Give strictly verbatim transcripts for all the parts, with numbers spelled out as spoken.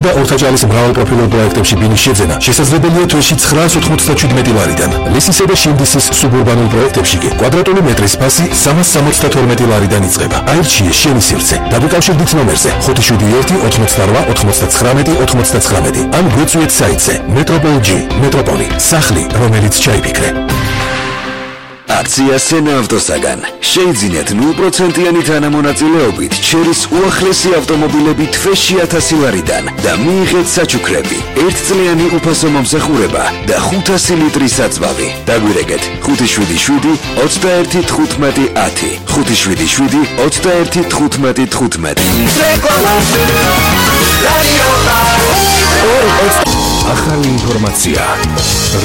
და ორთაჭალის მრავალპროფილურ პროექტებში ბინის შეძენა შესაძლებელია თვეში ცხრაას ოთხმოცდაშვიდი მეტი ლარიდან. ლისისა და შინდისის სუბურბანულ პროექტებში კი კვადრატული მეტრის ფასი სამას სამოცდათორმეტი ლარიდან იწყება. აირჩიე შენი სივრცე. დაგუკავშირდით ნომერზე ხუთი შვიდი ერთი ოთხმოცდარვა ოთხმოცდაცხრამეტი ოთხმოცდაცხრამეტი. ან გვეწვიეთ საიტზე Metropol G Metropoli სახლი, რომელიც ჩაიფიქრე. აქცია სენა ავტოსაგან. შეიძინეთ ნულ პროცენტიანი თანამონაწილეობით ჩერის უახლესი ავტომობილები თვეში ათასი ლარიდან და მიიღეთ საჩუქრები, ერთწლიანი უფასო მომსახურება და ხუთასი ლიტრის საწვავი. დაგვირეკეთ ხუთი შვიდი შვიდი ოცდაერთი თხუთმეტი ათი ხუთი შვიდი შვიდი ოცდაერთი თხუთმეტი თხუთმეტი. ახალი ინფორმაცია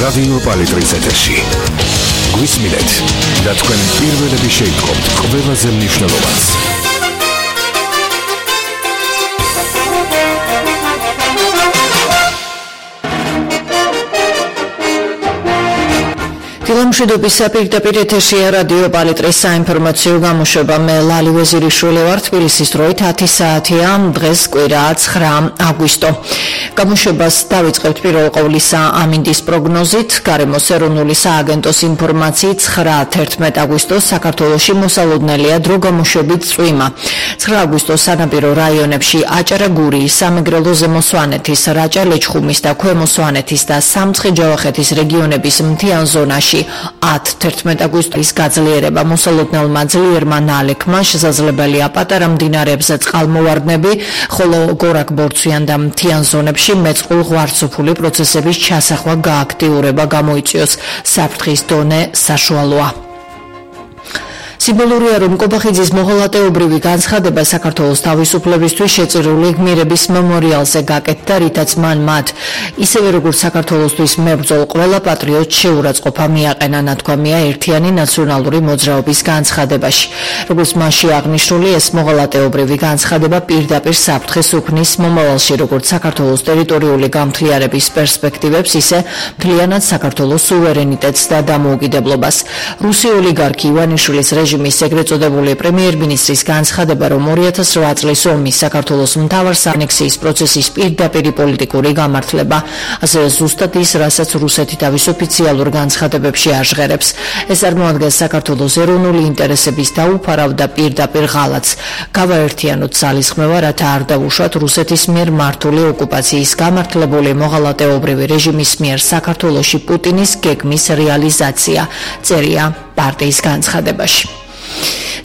რადიო პალიტრის ეთერში. გვისმინეთ და თქვენ პირველები შეიტყობთ ყველაზე მნიშვნელოვანს. დილამშვიდობის საპირდაპირ ეთერშია რადიო პალიტრის საინფორმაციო გამოშვება. მე ლალი ვეზირიშვილი ვარ. თბილისის დროით ათი საათია. დღეს კვირაა ცხრა აგვისტო. გამოშვებას დავიწყებთ პირველ ყოვლისა ამინდის პროგნოზით. გარემოს ეროვნული სააგენტოს ინფორმაციით ცხრა თერთმეტ აგვისტოს საქართველოში მოსალოდნელია დრო გამოშვებით წვიმა. ცხრა აგვისტოს სანაპირო რაიონებში აჭარა, გურიის, სამეგრელო, ზემო სვანეთის, რაჭა, ლეჩხუმის და ქვემო სვანეთის და სამცხე-ჯავახეთის რეგიონების მთიან ზონაში ათ თერთმეტ აგვისტოს გაძლიერება. მოსალოდნელმა ძლიერმა ნალექმა შესაძლებელია პატარა მდინარეებზე წყალმოვარდნები, ხოლო გორაკ-ბორცვიან და მთიან ზონებში მეწყულ ღვარცოფული პროცესების ჩასახვა გააქტიურება გამოიწვიოს. საფრთხის დონე საშუალოა. სიმბოლურია, რომ კობახიძის მოღალატეობრივი განცხადება საქართველოს თავისუფლებისთვის შეწირული გმირების მემორიალზე გაკეთდა, რითაც მან მათ ისევე როგორც საქართველოსთვის მებრძოლ ყველა პატრიოტს შეურაცხყოფა მიაყენა, ნათქვამია ერთიანი ნაციონალური მოძრაობის განცხადებაში. როგორც მასში აღნიშნული, ეს მოღალატეობრივი განცხადება პირდაპირ საფრთხეს უქმნის მომავალში როგორც საქართველოს ტერიტორიული გამთლიერების პერსპექტივებს, ისე მთლიანად საქართველოს სუვერენიტეტს და დამოუკიდებლობას. რუსი ოლიგარქი ივანიშვილის რეჟიმის ეგრეთ წოდებული პრემიერ-მინისტრის განცხადება, რომ ორი ათას რვა წლის ომის საქართველოს მთავარ ანექსიის პროცესის პირდაპირი პოლიტიკური გამართლება, ასევე ზუსტად ის, რასაც რუსეთი თავის ოფიციალურ განცხადებებში აჟღერებს. ეს წარმოადგენს საქართველოს ეროვნული ინტერესების დაუფარავ და პირდაპირ ღალატს. გავაერთიანოთ ძალისხმევა, რათა არ დავუშვათ რუსეთის მიერ მართული ოკუპაციის გამართლებული მოღალატეობრივი რეჟიმის მიერ საქართველოში პუტინის გეგმის რეალიზაცია, წერია პარტიის განცხადებაში.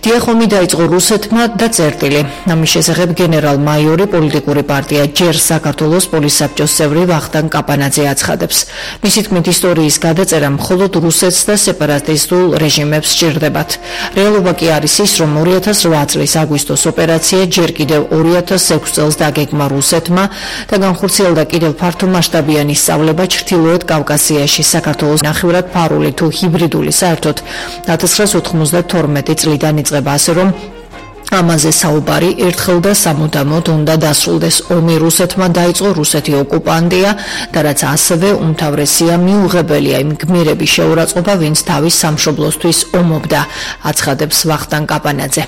დიახომი დაიწყო რუსეთმა და წერტილი. ამის შესახებ გენერალ-მაიორი პოლიტიკური პარტია ჯერ საქართველოს პოლისაბჭოს წევრი ვახტანგ კაპანაძე აცხადებს. მისი თქმით, ისტორიის გადაწერა მხოლოდ რუსეთს და სეპარატისტულ რეჟიმებს სჭირდებათ. რეალობა კი არის ის, რომ ორი ათას რვა წლის აგვისტოს ოპერაცია ჯერ კიდევ ორი ათას ექვსი წელს დაგეგმა რუსეთმა და განხორციელდა კიდევ ფართომასშტაბიანი სწავლება ჩრდილოეთ კავკასიაში, საქართველოს ნახევრად ფარული თუ ჰიბრიდული საერთოდ ათას ცხრაას ოთხმოცდათორმეტი წლიდან იწყება, ასე რომ ამაზე საუბარი ერთხელ და სამუდამოდ უნდა დასრულდეს. ომი რუსეთმა დაიწყო, რუსეთი ოკუპანტია და რაც ასევე უმთავრესია მიუღებელია იმ გმირების შეურაცხყოფა, ვინც თავის სამშობლოსთვის ომობდა, აცხადებს ვახტანგ კაპანაძე.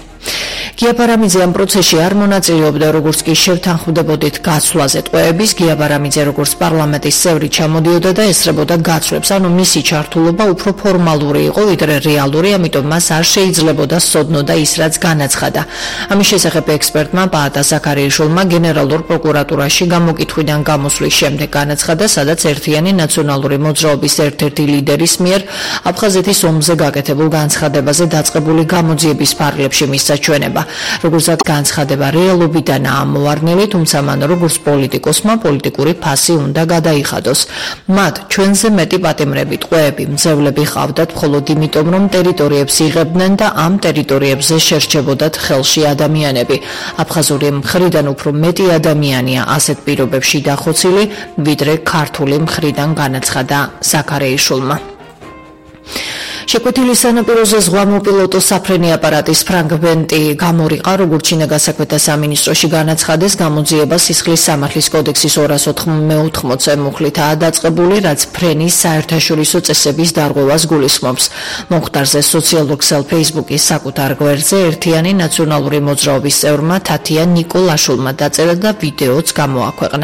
გია ბარამიძე ამ პროცესში არ მონაწილეობდა, როგორც კი შევთანხმდებოდით გაცვლაზე ტყვეების. გია ბარამიძე როგორც პარლამენტის წევრი ჩამოდიოდა და ესწრებოდა გაცვლებს, ანუ მისი ჩართულობა უფრო ფორმალური იყო, ვიდრე რეალური, ამიტომ მას არ შეიძლებოდა სოდნოდა ის, რაც განაცხადა. ამის შესახებ ექსპერტმა პაატა ზაქარიაშვილმა გენერალურ პროკურატურაში გამოკითხვიდან გამოსვლის შემდეგ განაცხადა, სადაც ერთიანი ნაციონალური მოძრაობის ერთ-ერთი ლიდერის მიერ აფხაზეთის ომზე გაკეთებულ განცხადებაზე დაწყებული გამოძიების ფარგლებში მისცა ჩვენება. როგორც განცხადება რეალობიდანაა ამოვარდნილი, თუმცა მან როგორც პოლიტიკოსმა პოლიტიკური ფასი უნდა გადაიხადოს. მათ ჩვენზე მეტი პატიმრები, ტყვეები, მძევლები ჰყავდათ მხოლოდ იმიტომ, რომ ტერიტორიებს იღებდნენ და ამ ტერიტორიებზე შერჩებოდათ ხელში ადამიანები. აფხაზური მხრიდან უფრო მეტი ადამიანია ასეთ პირობებში დახოცილი, ვიდრე ქართული მხრიდან, განაცხადა ზაქარიაშვილმა. შეკვეთილი სანაპიროზე ზღვამოპილოტო საფრენი აპარატის ფრაგმენტი გამორიყა, როგორც ჩინე გასაკვეთა სამინისტროში განაცხადეს, გამოძიება სისხლის სამართლის კოდექსის ორას ოთხმოცდაოთხ მუხლითაა დაწყებული, რაც ფრენის საერთაშორისო წესების დარღვევას გულისხმობს. მომხდარზე სოციალურ ქსელ Facebook-ის საკუთარ გვერდზე ერთიანი ნაციონალური მოძრაობის წევრმა თათია ნიკოლაშვილმა დაწერა და ვიდეოც გამოაქვეყნა.